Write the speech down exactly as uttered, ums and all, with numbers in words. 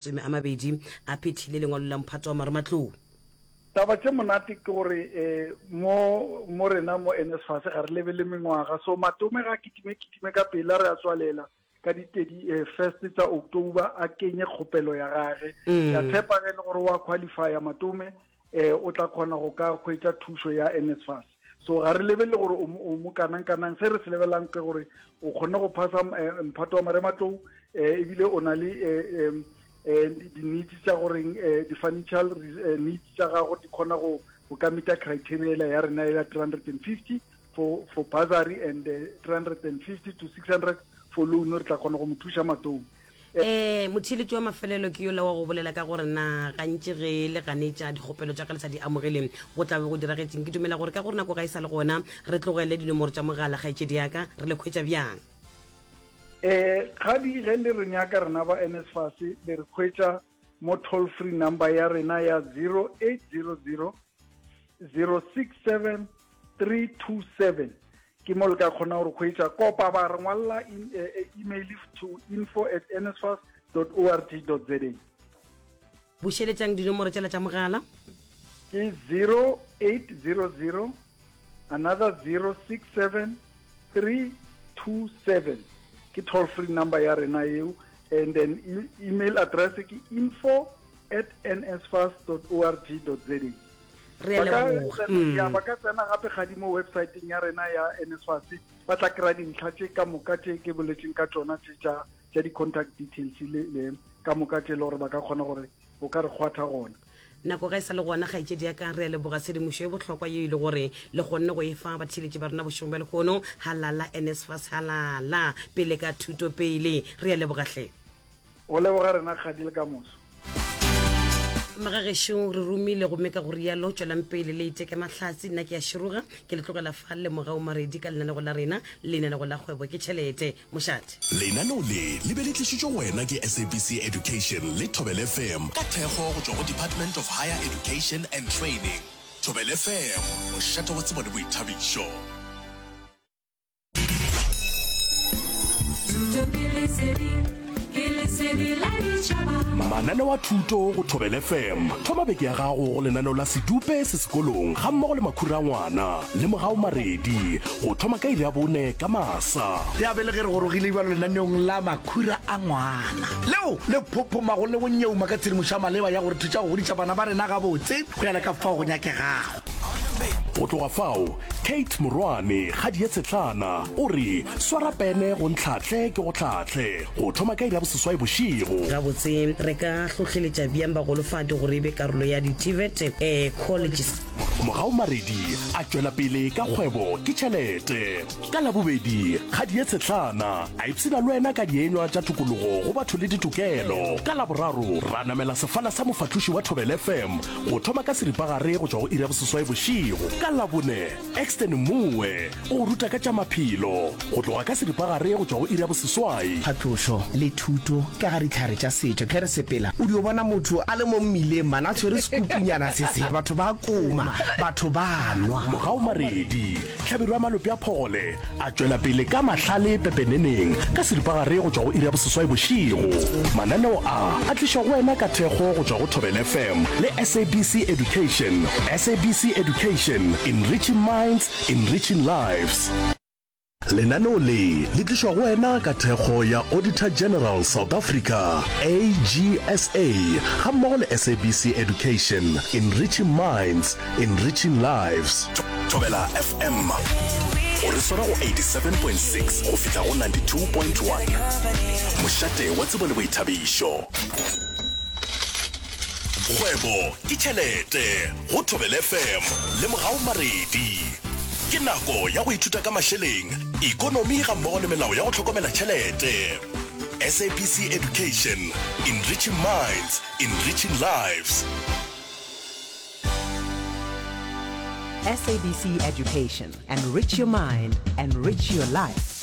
Masome a mabedi a phethile lengwalo la mphato wa marematlou. Taba tše monate ke gore um mo mo rena mo N S F A S ga re lebele mengwaga, so Matome ga kitime kitime ka pela, re a tswalela ka di-thirty first tsa October, a kenye kgopelo ya gage. Mm. Ke a tshepa ge e le gore wa qualifya Matome, um o tla kgona go ka hwetša thušo ya N S F A S. So ga re lebelele gore o mo- o mo kanang-kanang, se re se lebelelang ke gore o kgonne go phasa eh, mphato wa marematlou, um ebile o na le eh, em, eh, di-needs tša goreng eh, di-financial eh, needs tša gago di kgona go go ka meeta criteria ela ya rena ya three hundred and fifty for for bursary and uh, three hundred and fifty to six hundred for loan. Re tla kgona go mo thuša Matome. um motheeletši wa mafelelo ke yola wa go bolela ka gore na gantši ge le ganetša dikgopelo tša ka le sa di amogeleng, go tla be go diragetseng? Ke dumela gore ka gore nako ga e sa le gona, re tlogele dinomoro tša mogala. Kgaetšedi yaka, re le khwetša bjang? eh kgadi, ge le re nyaka rena ba N S F A S, le re hwetša mo toll free number ya rena ya zero eight zero zero zero six seven three two seven. Ke mo le ka kgona gore hwetša kopa ba re ngwalla in- eh, eh, email to info at nsfas dot org dot za. Bušeletšang dinomoro tšela tša mogala. Ke zero eight zero zero another zero six seven three two seven, ke toll free number ya rena eo, and then e email address ke info at nsfas dot org dot za. Re a Ba ka leboga. tsena- ya, Mm. ba ka tsena gape gadi mo websiteng ya rena ya N S F A S, ba tla kry-a dintlha tše ka moka tše ke boletseng ka tšona tše tša tša di-contact details le le ka moka tše e le gore ba ka kgona gore o ka re kgwatha gona. Nako ga e sa le gona. Kgaetšedi ya ka, re a leboga tshedimošo e bohlokwa ye e le gore le kgonne go e fa batheeletši ba rena bošegong bja lehono. Halala N S F A S, halala pele ka thuto pele. Re a lebogatlhe. Go leboga rena kgadi, le ka moso. Magagešo, re romile gomme ka go rialo tswelang pele le iteke mahlatsi. Nna ke a široga, ke le tlogela fa le Mogao Maredi ka lenanego la rena, lenanego la Kgwebo ke Tšhelete. Mošate. Lenaneo le le be le tlišitšwe go wena ke S A B C Education le Thobel F M ka thekgo go tšwa go Department of Higher Education and Training. Thobel F M, mošate wa tsebo le boithabišo. Thuto ke lesedi, ke lesedi la ditšhaba. Mananeo a thuto go Thobel F M. Thoma beke ya gago go lenaneo la Sedupe se sekolong ga mmogo le Makhura a Ngwana le Mogao Maredi go thoma ka iri ya bone ka masa. Ya be le ge re gorogile bjalo lenaneong la Makhura a Ngwana, leo le phophomago le go nyeuma ka tshedimošo ya maleba ya gore thuša go godiša bana ba rena gabotse go ya le ka fao go nyakegago. Go tloga fao, Kate Morwane kgadi ye tshetlana o re swara pene go ntlhatle ke go tlhatle go thoma ka iri ya boseswai bošego. Gabotse re ka hlohleletša bjang bagolofadi gore e be karolo ya di-T V E T um colleges? Mogao Maredi a tšwela pele ka Kgwebo ke Tšhelete ka Labobedi. Kgadi ye tshetlana a ipshina le wena ka dienywa tša tokologo go batho le ditokelo. Ka Laboraro ra namela sefala sa mofatloši wa Thobel F M go thoma ka seripagare go tšwa go iri ya boseswai bošego. Ka Labone, Exton Moe o go ruta ka tša maphelo go tloga ka seripagare go tšwa go iri ya boseswai. Phatlošo le thuto ka ga ditlhare tša setšo. Ge re sepela o dio bona motho a le mo mmileng mana a tshwere sekupunyana se se, batho ba koma, batho ba nwa. Mogao Maredi, tlhabelo ya malope a phogole, a tšwela pele ka mahlale pepeneneng ka seripagare go tšwa go iri ya boseswai bošego. Mananeo a a tlišwa go wena ka thekgo go tšwa go Thobel F M le S A B C Education. S A B C Education, enriching minds, enriching lives. Lenaneo le le tlišwa go wena ka thekgo ya Auditor General South Africa, A G S A, ga mmogo le S A B C Education, enriching minds, enriching lives. Thobela F M, o re swara go eighty-seven point six go fihla go ninety-two point one, mošate wa tsebo le boithabišo. Kgwebo ke Tšhelete go Thobel F M le Mogao Maredi. Ke nako ya go ithuta ka mašeleng, ikonomi ga mmogo le melao ya go hlokomela tšhelete. S A B C Education, enriching minds, enriching lives. S A B C Education. Enrich your mind, enrich your life.